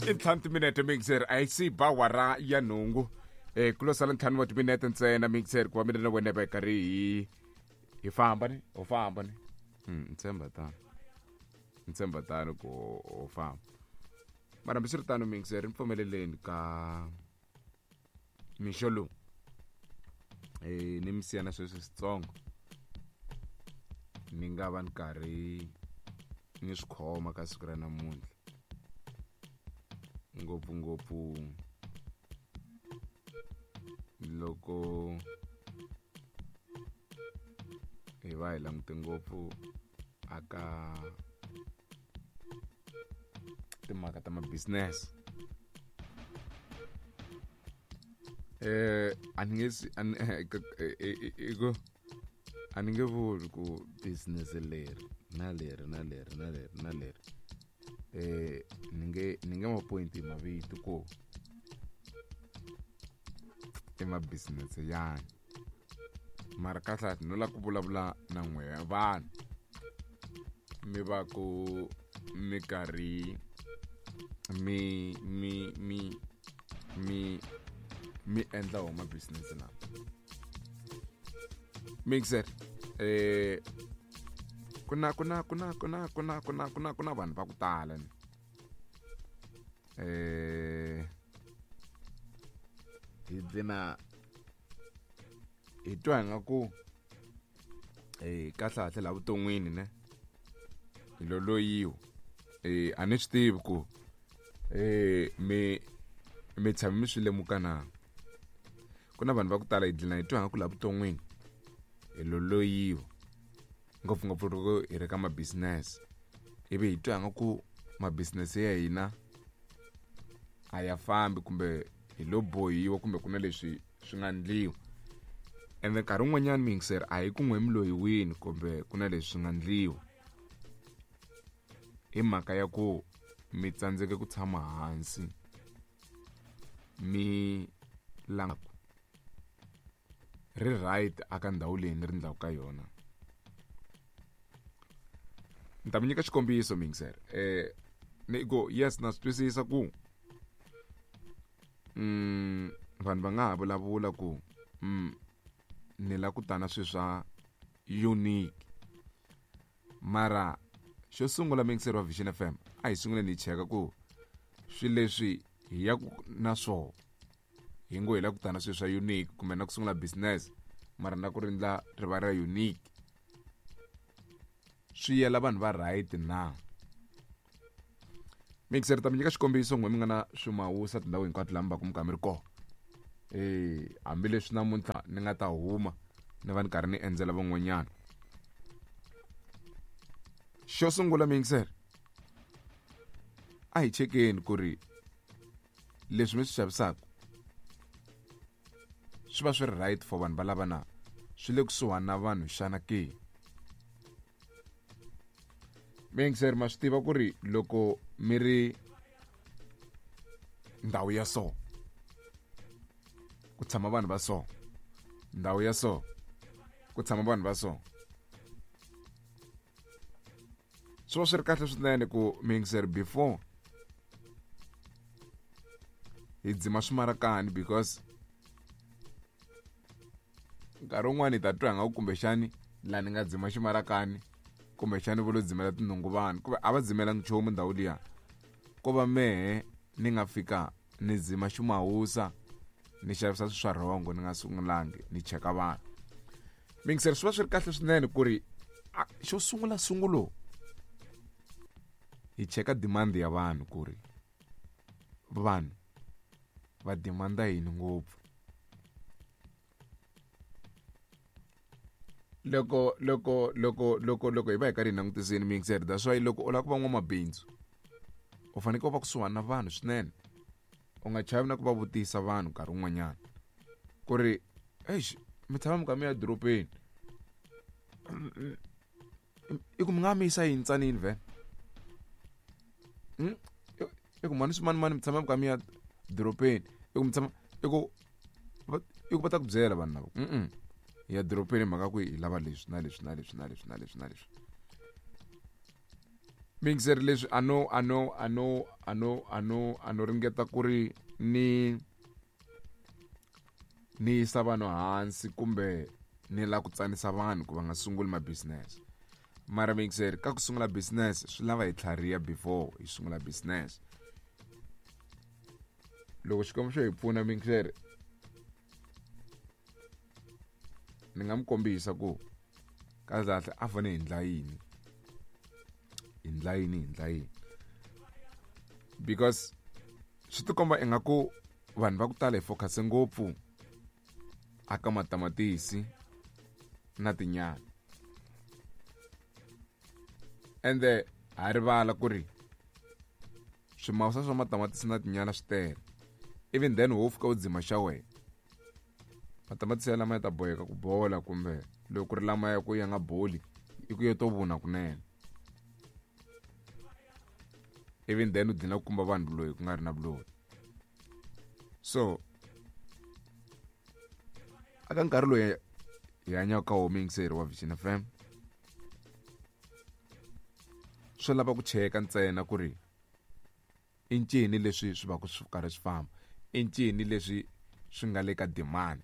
I ntlhanu timinete mixer a yi si ba wara ya nhungu. Ku lo sala ntlhanu wa timinete ntsena mixer ku va mina na wena hi va hi karhi hi famba ni ho famba ni. Ni tshemba tano. Ni tshemba tano ku ho famba. Mara hambiswiritano mixer ni pfumeleleni ka mixo lowu. Ni mi siya na sweswi switsongo. Ni nga va ni karhi ni swi khoma ka siku ra namuntlha. Ngopfungopfu loko hi va hi langute ngopfu aka timhaka ta ma-business. A ni nge swi a ni i ku a ni nge vuli ku business leri na leri na leri na leri na leri ni nge ma point hi mavito ku i ma business yani mara kahle no la ku vulavula na n'we vanhu mi va ku mi karhi mi mi mi mi mi endla wona business lawa. Mixer ku na ku na ku na ku na ku na ku na ku na ku na vanhu va ku tala ni. Hi dlina hi twa hi nga ku kahle kahle la vuton'wini ne hi lo loyiwa. A ni swi tivi ku mi tshame mi swi lemuka na. Ku na vanhu va ku tala hi dlina hi twa nga ku la vuton'wini hi lo loyiwa ngopfungopfu loko hi ri ka ma business ivi hi twa nga ku ma business ya hina a ya fambi kumbe hi lo bohiwa kumbe ku na leswi swi nga ndliwa. Ende nkarhi wun'wanyana miyingiseri a hi ku n'we mi loyiwini kumbe ku na leswi swi nga ndliwa hi mhaka ya ku mi tsandzeke ku tshama hansi mi langa ri right aka ndhawu leyi ni ri ndlaku ka yona. Ni ta mi nyika xikombiso miyingiseri. Ni ku yes na swi twisisa ku vanhu va nga ha vulavula ku ni la ku ta na swilo swa unique mara xo sungula miyingiseri wa Vision FM a hi sunguleni hi cheka ku swilo leswi hi ya ku na swona hi ngo hi la ku ta na swilo swa unique kumbe na ku sungula business mara na ku ri ndla ri va ra unique swi yela vanhu va right na. Mixer ta mi nyika xikombiso n'we mi nga na swimawusa tindhawu hinkwato laha mi va ku mi kha mi ri kona. Hambileswi namuntlha ni nga ta huma ni va ni karhi ni endzela van'wanyana. Xo sungula mixer a hi chekeni ku ri leswi mi swi xavisaka swi va swi ri right for vanhu va lava na swi le kusuhani na vanhu xana ke. Mixer ma swi tiva ku ri loko mi ri ndhawu ya so ku tshama vanhu va so, ndhawu ya so ku tshama vanhu va so, swi va swi ri kahle swinene ku mixer before hi dzima swimarakani because nkarhi wun'wani hi ta twa nga ku kumbexani laha ni nga dzima ximarakani kumbexani vo lo dzimela tinhungu vanhu kumbe a va dzimelangi nchumu ndhawu liya ko va mehe ni nga fika ni dzima ximawusa ni xavisa swilo swa rhongo ni nga sungulangi ni cheka vanhu. Mixer swi va swi ri kahle swinene ku ri xo sungula sungulo hi cheka demand ya vanhu ku ri vanhu va demanda yini ngopfu. Loko loko loko loko loko hi va hi karhi hi langutisini mixer that's why loko u lava ku va n'wamabindzu u fanekele u va kusuhani na vanhu swinene u nga chavi na ku va vutisa vanhu nkarhi wun'wanyana ku ri eish mi tshama mi kha mi ya edorobeni i ku mi nga mi yisa yini tsanini vhele i ku mhani swimanimani mi tshama mi kha mi ya dorobeni i ku mi tshama i ku i ku va ta ku byela vanhu lava hi ya dorobeni hi mhaka ku hi lava leswi na leswi na leswi na leswi na leswi na leswi. Mixer leswi a no a no a no a no a no a no ringeta ku ri ni ni yisa vanhu hansi kumbe ni lava ku tsanisa vanhu ku va nga sunguli ma business mara mixer ka ku sungula business swi lava hi tlhariha before hi sungula business. Loko Xikwembu xo hi pfuna mixer ni nga mi kombisa ku kahle kahle a fane hi ndla yini hi ndla yini hi ndla yini because swi tikomba ingaku vanhu va ku tala hi focus ngopfu aka matamatisi na tinyala ende ha rivala ku ri swimawusa swa matamatisi na tinyala swi tele even then wo fika u dzima xa wena matamatisi ya lama ya ta boheka ku bola kumbe loko ku ri lama ya ku ya nga boli i ku yo to vuna kunene even then u dlina ku kumba vanhu vuloyi ku nga ri na vuloyi. So aka nkarhi loyi hi hanyaka ka wo muyingiseri wa Vision FM swo lava ku cheka ntsena ku ri i ncini leswi swi va ku swi karhi swi famba i ncini leswi swi nga le ka demand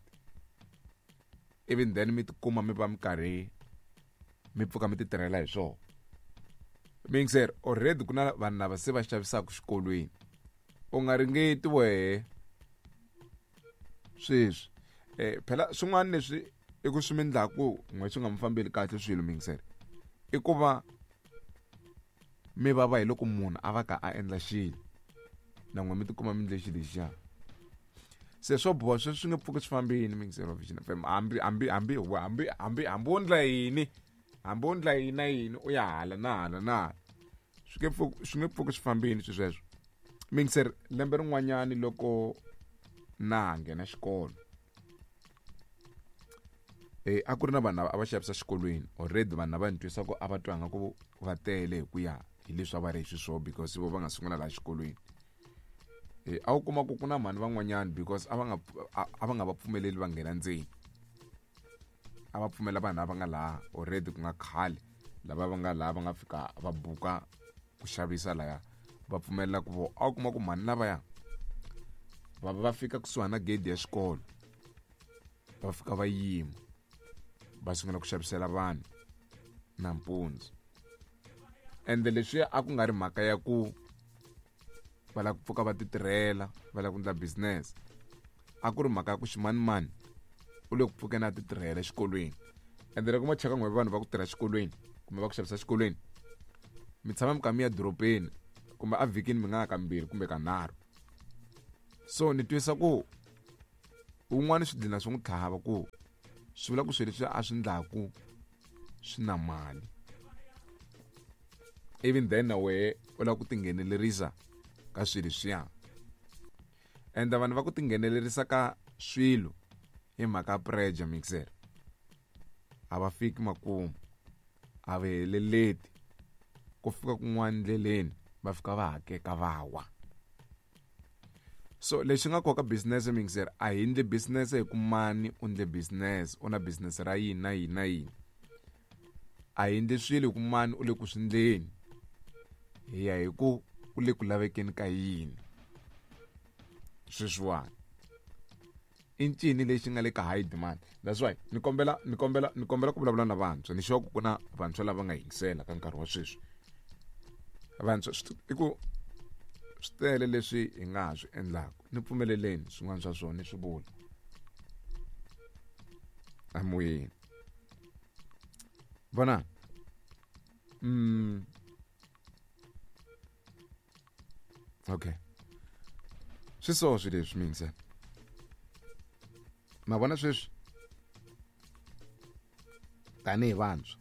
even then mi tikuma mi va mi karhi mi pfuka mi ti tirhela hi swona. Muyingiseri already ku na vanhu lava se va xavisaka xikolweni u nga ringeti wehe sweswi phela swin'wana leswi i ku swi mi ndlaku n'we swi nga mi fambeli kahle swilo muyingiseri i ku va mi vava hi loko munhu a va ka a endla xilo na n'we mi tikuma mi endle xilo lexiya se swo boha sweswi swi nge pfuki swi fambini muyingiseri wa Vision FM hambi hambi hambi hambi hambi hambi wo ndla yini hambi wo ndla yini na yini u ya hala na hala na hala swi nge pfuki swi nge pfuki swi fambini swi sweswo. Muyingiseri lembe rin'wanyani loko na ha nghena xikolo a ku ri na vanhu lava a va xavisa xikolweni already vanhu lava ni twisa ku a va twa nga ku va tele hi ku ya hi leswi a va ri hi xiswona because vo va nga sungula laha xikolweni. A wu kuma ku ku na mhani van'wanyani because a va nga a va nga va pfumeleli va nghena ndzeni a va pfumela vanhu lava nga laha already ku nga khale lava va nga laha va nga fika va buka ku xavisa laya va pfumelela ku vo a wu kuma ku mhani lavaya va va fika kusuhani na gedi ya xikolo va fika va yima va sungula ku xavisela vanhu nampundzu ende leswiya a ku nga ri mhaka ya ku va lava ku pfuka va ti tirhela va lava ku endla business a ku ri mhaka ya ku ximanimani u le ku pfukeni a ti tirhela exikolweni ende loko ma cheka n'we vanhu va ku tirha exikolweni kumbe va ku xavisa exikolweni mi tshama mi kha mi ya dorobeni kumbe a vhikini mi nga ya kambirhi kumbe kanharhu so ni twisa ku wun'wana swi dlina swi n'wi tlhava ku swi vula ku swilo leswi a swi ndlaku swi na mali even then na wehe u lava ku tinghenelerisa ka swilo leswiya ende vanhu va ku tinghenelerisa ka swilo hi mhaka pressure mixer a va fiki makumu a va heleleti ku fika kun'wana ndleleni va fika va hakeka va wa. So lexi nga koka business mixer a hi ndli business hi ku mani u ndle business u na business ra yini na yini na yini a hi ndli swilo hi ku mani u le ku swi ndleni hi ya hi ku u le ku lavekeni ka yini sweswiwani i ncini lexi nga le ka high demand that's why ni kombela ni kombela ni kombela ku vulavula na vantshwa ni sure ku ku na vantshwa lava nga yingisela ka nkarhi wa sweswi vantshwa i ku swi tele leswi hi nga ha swi endlaka ni pfumeleleni swin'wana swa swona ni swi vula amoyeni vona okay swi so swi leswi mingise ma vona sweswi tanihi vantshwa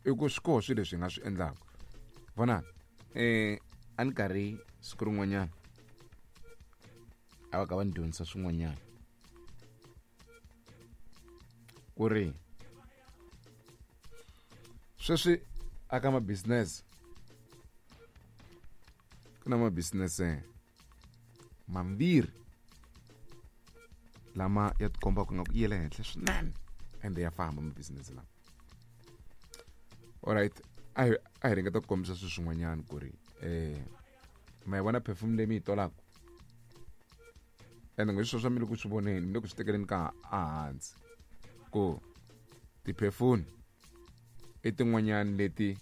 i ku swi koho swilo leswi hi nga swi endlaka vona a ni karhi siku rin'wanyana a va ka va ni dyondzisa swin'wanyana ku ri sweswi aka ma business ku na ma business mambirhi lama ya tikombaka nga ku yele henhla swinene ende ya famba ma business lama. Alright, a hi ringeta ku kombisa swilo swin'wanyana ku ri ma yi vona perfume leyi mi yi tolaka, ende ngo sweswo mi le ku swi voneni, mi le ku swi tekeleni ka ehansi ku ti-perfume i tin'wanyani leti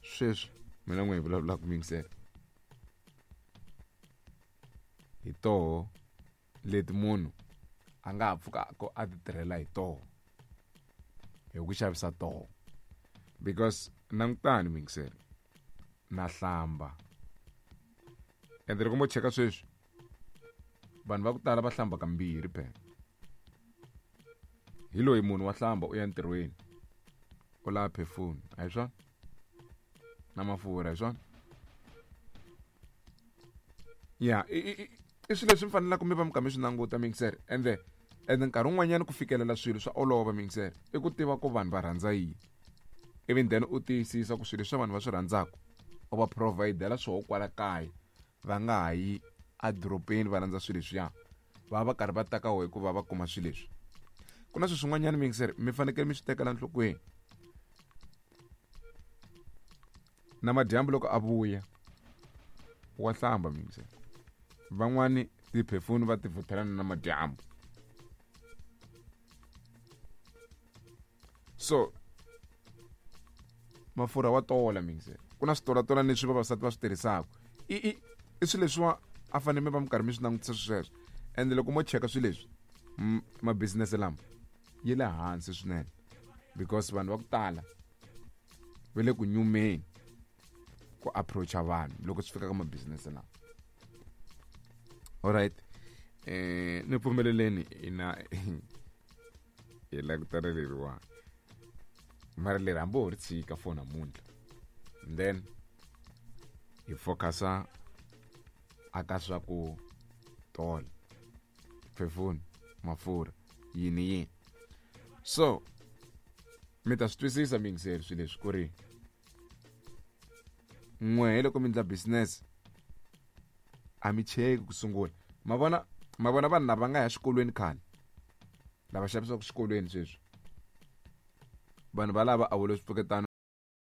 sweswi mina n'we hi vulavulaka miyingisela hi toho, leti munhu a nga ha pfukaka a ti tirhela hi toho hi ku xavisa toho, because langutani miyingiselo na hlamba, ende loko mo cheka sweswi vanhu va ku tala va hlamba kambirhi. Phela hi loyi munhu wa hlamba, u ya ntirhweni, u lava perfume, a hi swona? Na mafurha, hi swona? Ya, i swilo leswi mi fanelaka mi va mi kha mi swi languta miyingiselo. Ende nkarhi wun'wanyana ku fikelela swilo swa olova miyingiselo, i ku tiva ku vanhu va rhandza yini, ivi then u tiyisisa ku swilo leswi vanhu va swi rhandzaka u va providela swoho kwala kaya, va nga ha yi edorobeni va landza swilo leswiya, va va karhi va ta ka wehe ku va va kuma swilo leswi. Ku na swilo swin'wanyana miyingiselo mi fanekele mi swi tekela enhlokweni. Na madyambu loko a vuya wa hlamba miyingiselo, van'wani tiphefuni va ti vuthelana na madyambu. So mafurha wa tola miyingiselo, ku na switolatola leswi vavasati va swi tirhisaka, i swilo leswiwa a fanele mi va mi karhi mi swi langutisa sweswo. Ende loko mo cheka swilo leswi, mabizinese lama yi le hansi swinene, because vanhu va ku tala va le ku nyumeni ku approacha vanhu loko swi fika ka mabizinese lama. Alright, ni pfumeleleni ina hi langutana leriwani, mara leri hambi ho ri tshika for namuntlha, then hi focusa aka swa ku tola phefuni, mafurha, yini yini. So mi ta swi twisisa miyingiseri swilo leswi ku ri n'wehe loko mi endla business a mi cheki ku sungula. Ma vona, ma vona vanhu lava nga ya xikolweni khale, lava xavisaka xikolweni sweswi, vanhu valava a vo le swipfuketano.